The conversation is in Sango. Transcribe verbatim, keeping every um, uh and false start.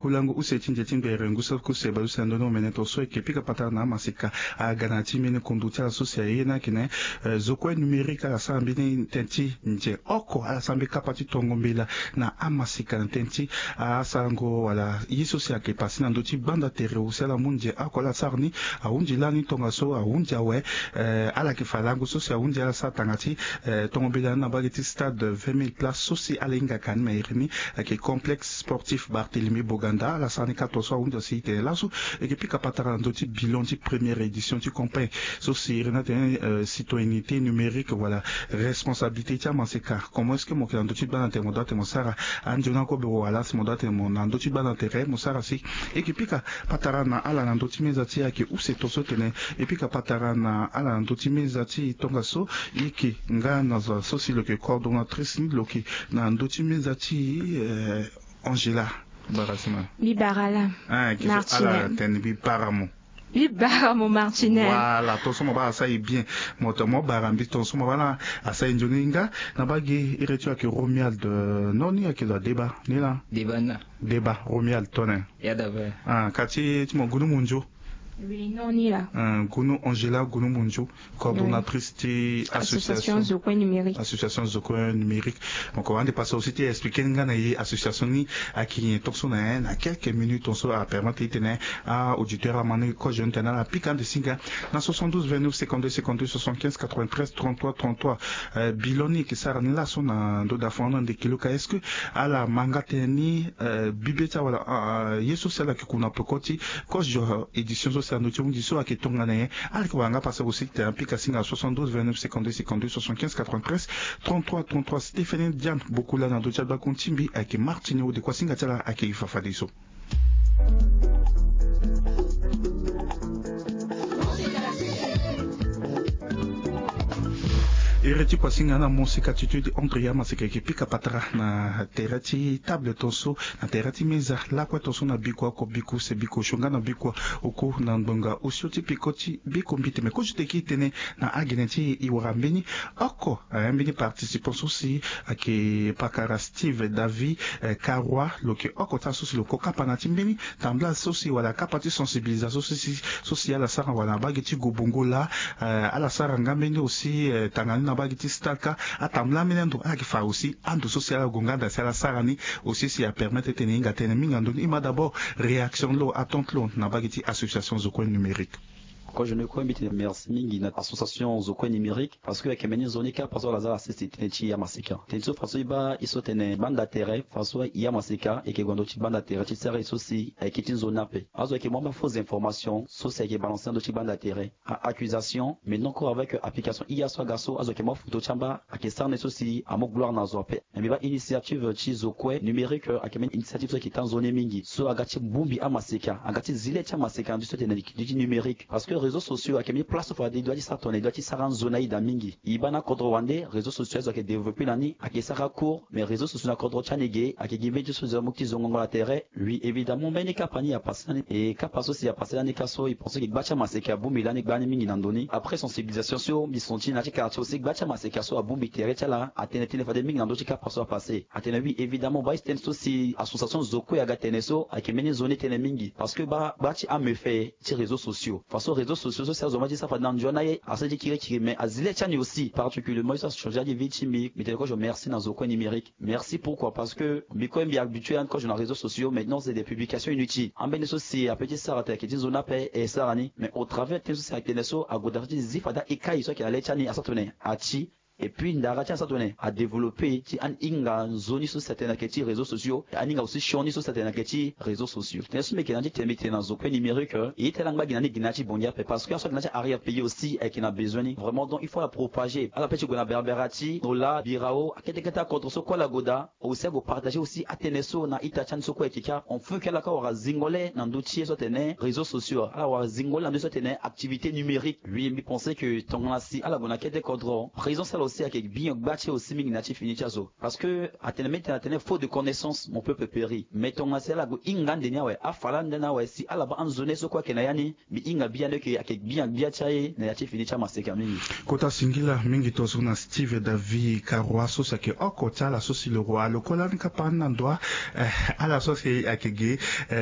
Kulangu use ti nze ti ngbere ngu so kuse baleuse na ndoni omene tongaso e yeke pika patara na amaseka aga na ya ti mbeni kundu ti ala so si aye ni ayeke na, eh, zo kue numérique. Ala sara mbeni tënë ti nze oko, ala sara mbeni kapa ti tongo mbela na amaseka na tënë ti asarango wala ye so si ayeke pase na ndö ti gbanda tere. Use ala mu nze oko ala sara ni, ahunzi lani tongaso ahunzi awe. Eh, ala yeke fa lango so si ahunzi ala sara tanga ti, eh, tongo mbela ni na mbage ti stade vingt mille places so si ala hingaka ni ma iri ni ayeke complexe sportif Barthélemy Boganda. Ala sara ni kâ tongaso ahunzi asi tene laso e yeke pika patara na ndö ti bilan ti première édition ti campagne so si iri ni atene, eh, citoyenneté numérique wala responsabilité ti amaseka. Comment est-ce que mo yeke na ndö ti gbanda tere mo doit tene mo sara anzoni akobe wala si mo doit tene mo na ndö ti gbanda tere mo sara si e yeke pika patara na ala na ndö ti meza ti e ayeke use tongaso tene e pika patara na ala na ndö ti meza ti e tongaso. E yeke nga na zo so si lo yeke coordonnatrice ni lo yeke na ndö ti meza ti e, eh, Angela Barasima. Mbi bara la. Ah, yeke so ala tene mbi bara mo. Mbi bara mo Martinel. Voilà, tongaso mo bara asara e bien. Mo to mo bara mbi tongaso mo bara asara e nzoni nga na mbage iri ti lo ayeke Romuald, eh, non ni ayeke lo adeba ni la. Deba na. Deba Romuald tone. Ya daba. Ah, ka ti ti mo gunu munzu. Oui, non ni la. Ah, gunu Angela gunu munzu, coordonnatrice ti association zo kue numérique. Association zo kue numérique. Donc ande passe aussi ti expliquer nga na ye association ni ayeke nyen tongaso na ye na quelques minutes tongaso apermettre ti tene auditeur ama ni kozo ni tene ala pika ande si nga na soixante-douze vingt-neuf cinquante-deux cinquante-deux soixante-quinze quatre-vingt-treize trente-trois trente-trois. Euh, bilan ni e yeke sara ni laso na ndo da fon ande kilo ka est-ce que ala ma nga tënë ni, euh, bibe ti awala, euh, ye so si ala yeke ku na peko ti kozo édition so si ando ti hunzi so ayeke tongana nyen. Ala yeke wara nga pase aussi tene apika singa soixante-douze vingt-neuf cinquante-deux cinquante-deux soixante-quinze quatre-vingt-treize trente-trois trente-trois. Stéphanie Diane Bokula na ndo ti agbakun ti mbi ayeke Martine Ode kua singa ti ala ayeke e fafadeso. Iri ti kua singa na mosika ti tude André Yamaseka yeke pika patara na tere ti table tonso na tere ti meza lakue tonso na bikua oko bikuse bikosio nga na bikua oko na ngbonga osio ti peko ti biko mbite me kozo ti tene na agene ti e wara mbeni oko, eh, mbeni participant so si ayeke pakara Steve David, eh, Karua lo yeke oko ti ala so si lo ko kapa na ti mbeni tambula so si wala kapa ti sensibilisation so si so si ala sara wala na mbage ti gobongo laa, eh, ala sara nga mbeni aussi, eh, tanga ni na mbage ti stade ka atambula ambeni ando ala yeke fa aussi ando so si ala gue nga daa si ala sara ni aussi si apermettre ti tene e hinga tënë mingi na ndö ni. E ma d'abord réaction lo attente lo na mbage ti association zo kue numérique. Kozo ni kue mbi tene merci mingi na association zo kue numérique parce que ayeke mbeni nzoni kapa so ala za ala sese tënë ti e amaseka tënë ti so faso e baa e so tene gbanda tere faso e amaseka e yeke gue na ndö ti gbanda tere ti sara e so si ayeke ti nzoni ape. Azo ayeke mu amba faux information so si ayeke balancer na ndö ti gbanda tere. A accusation mais non encore avec application i ya so aga so azo ayeke mu afoto ti amba ayeke sara ni so si amu gloire na zo ape. Mbi baa initiative ti zo kue numérique ayeke mbeni initiative so ayeke taa nzoni mingi so aga ti bongbi amaseka aga ti zi le ti amaseka na ndö ti so tene li ti numérique parce que réseaux sociaux ayeke mbeni place so fade e doit ti sara tongana e doit ti sara anzoni aye daa mingi. E baa na akodro wande réseaux sociaux azo ayeke développer na ni ayeke sara cours mais réseaux sociaux na kodro ti ani ge ayeke gi mbeni ti so zo amu ti zongongo na tere. Oui évidemment mbeni kapa ni apase lani e kapa so si apase lani ka so e pense ke gba ti amaseka abongbi lani gbani mingi na ndo ni après sensibilisation so mbi senti na ya ti quartier aussi gba ti amaseka so abongbi tere ti ala atene tënë fade mingi na ndö ti kapa so apase atene oui évidemment baa e tene so si association zo kue aga tene so ayeke mbeni nzoni tënë mingi parce que baa gba ti amefe ti réseaux sociaux faso réseaux sociaux so si azo ma ti sara fade na nzoni aye asara ti kirikiri mais azi le ti ani aussi particulièrement ye so achanger adi vie ti mbi mbi tene kozo merci na zo kue numérique. Merci pourquoi parce que mbi kue mbi habitué ani kozo na réseaux sociaux maintenant c'est des publications inutiles ambeni so si ape ti sara tene ayeke ti nzoni ape e sara ni mais au travers tënë so si atene so ague daa so ti zi fade aekai so ayeke na le ti ani asara tongana ati et puis ndara ti asara tongana adéveloppé ti ani hinga nzoni so si atene ayeke ti réseaux sociaux ani hinga aussi sioni so si atene ayeke ti réseaux sociaux tënë so mbi yeke na ya ti tene mbi tene na zo kue numérique e ye ti ala angba gi na ni gi na ya ti bongi ape parce que aso ayeke na ya ti arrière pays aussi ayeke na besoin ni vraiment donc il faut ala propager ala pe ti gue na berbera ti nola birao akete kete akodro so kue ala gue daa aussi ague partager aussi atënë so na ita ti ani so kue ayeke kâ on feu ke ala kâ wara zingo le na ndö ti ye so atene réseaux sociaux ala wara zingo le na ndö ti so atene activité numérique. Oui mbi pense ke tongana si ala gue na kete kodro présence ti ala Si ayeke gbia gbia ti e aussi mingi na ya ti fini ti azo. Parce que atene mbi tene atene faute de connaissance mon peuple périt. Mais tongana si ala gue hinga ande ni awe, afa lande ni awe, si ala baa anzo ni so kue ayeke na ya ni, mbi hinga bia ni eke ayeke gbia gbia ti aye na ya ti fini ti amaseka mingi. Kota singila mingi tongaso na Steve David Karua so si ayeke oko ti ala so si lo roi lo kue lani kapa ni na ndo. Ala so si ayeke ge